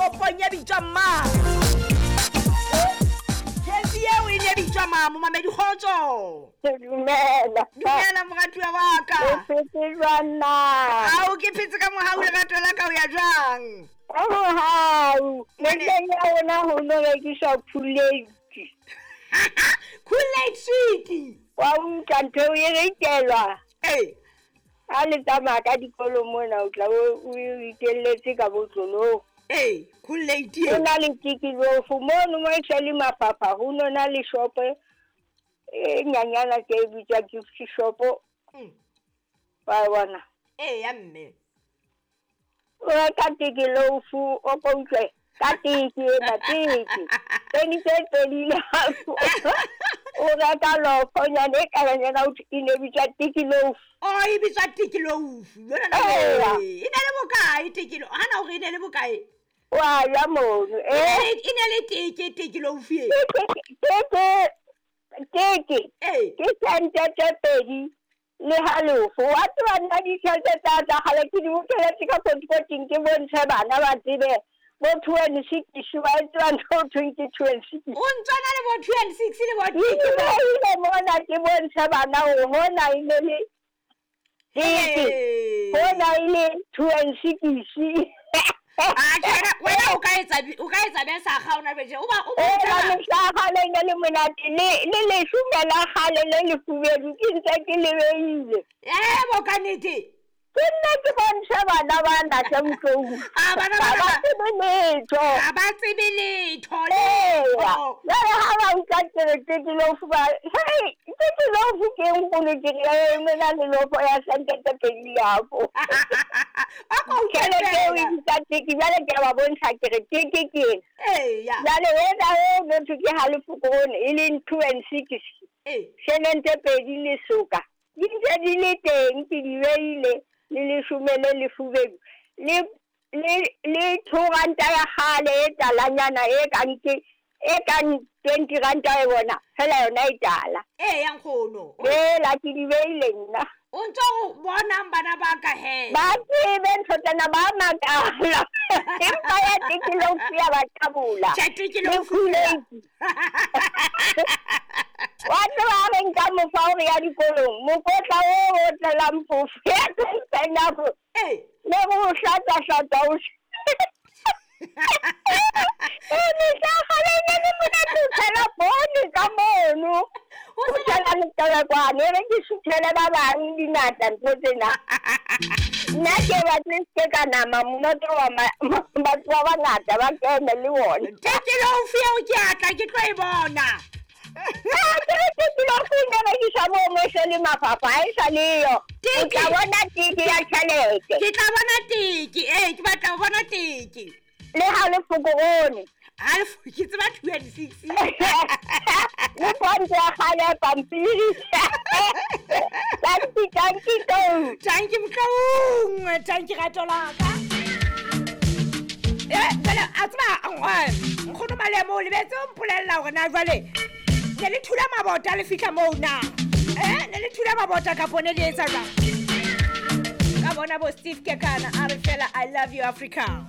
Toropong e bitswang mang? Kefi eo e ne bitswa mang, momamedi? Kgotso. Dumela. Dumela, moratuwa wa ka. O phetse jwang na? Ao, ke phetse ka mohau, lerato la ka. O ya jwang? Ka mohau. Mehleng ya rona ho no rekiswa Kool-Aid. Kool-Aid sweet. Wa utlwa, ntho eo e rekelwa. Ee. Ha le tsamaya ka dikolo mona, o tla o itelletse ka botlolong. Ee, Kool-Aid. Ho na le tikilofo mono mo e se le mafapha, ho no na le shopo e nyanyana ke e bitswa gift shop. Wa bona? Ee ya, mme. O reka tikilofu, o ko utlwe ka tiki ena, tiki pedi tse pedi le halofo, o reka lofonyana e kalanyana, o e ne bitswa tikilofu. O e bitswa tikilofu yona? Eya. E ne le bokae tekilo hana, hore e ne le bokae? Wa ya mono. E ne le teke tekilofu e? Teke, teke. Ee. Ke sente tse pedi le halofo. Wa tseba, nna ditjhelete tsa kgale ke di bokeletse ka kotikoting, ke bontshe bana ba tsebe bo two and six, ba e tseba ntho ho thweng ke two and six. O ntswana le bo two and six le bo Ke beile mona, ke bontshe bana hore hona e ne le teke, hona e le two and six. Atjhe, wena o ka etsa be sa ga ona beje o ba o Ela mehla ya kgale e ne le monate, le leshome la kgale le lefubedu ke ntse ke le beile. Ebo, ka nnete. Ke nna ke bontshe bana ba ntate Motlou. Ah, bana Ha bana ba tsebe letho. Ha ba tsebe letho. Eya. Letho. Jwale ha ba utlwa ke re tekilofu, ba hei, tekilofu ke nkgono, ke re e mena le lofo ya sente tse pedi le halofo. A ko utlwe Tjhelete eo e feela. bitsa teke. Jwale ke a ba bontsha, ke re teke ke ena. Jwale ena eo motho ke halofo krone, e leng two and six, sheleng tse pedi le soka, di ntse di le teng, ke di beile, le leshome le lefubedu, le 2 ranta ya kgale e talanyana, e kang ke e kang 20 ranta e bona fela yona e tala. Ee ya, nkgono. Ela ke di beile nna. O ntso o bonang bana ba ka he? Ba tsebe ntho tsena, ba makala, empa ya tekilofu ya ba tabola. Tjhe, Le tekilofu. Kool-Aid. Wa tseba, ha re nka mofa hore ya dikolong, mokotla o o tlelang phofo ya teng, le go hlatswa-hlatswa o e mehla kgale e ne le monate, o tshela poone ka mono, o tshela letebekwane, e re ke suthele ba bang dingata ntho tsena. Nna ke batle se ka nama monate wa batho ba bangata ba kene le ona. Tekilofu eo ke atla ke tlo e bona. Tekilofu e ne rekisa moo mo se le mafapha, ha e sa leyo. O tla bona teke ya tjhelete. Ke tla bona teke ee, ke batla ho bona teke. Le halofo korone. Halofo ke tseba two and six. Le fonto ya kgale ya pampiri. Tanki, tanki tou. Tanki Motloung, tanki rato la ka. E jwale a tseba, nkgono Malemo, o lebetse o mpolella hore na jwale ne le thula mabota le fihla moo na, ne le thula mabota kapo ne le etsa jwang? Ka bona bo Steve Kekana a re fela, "I love you, Africa."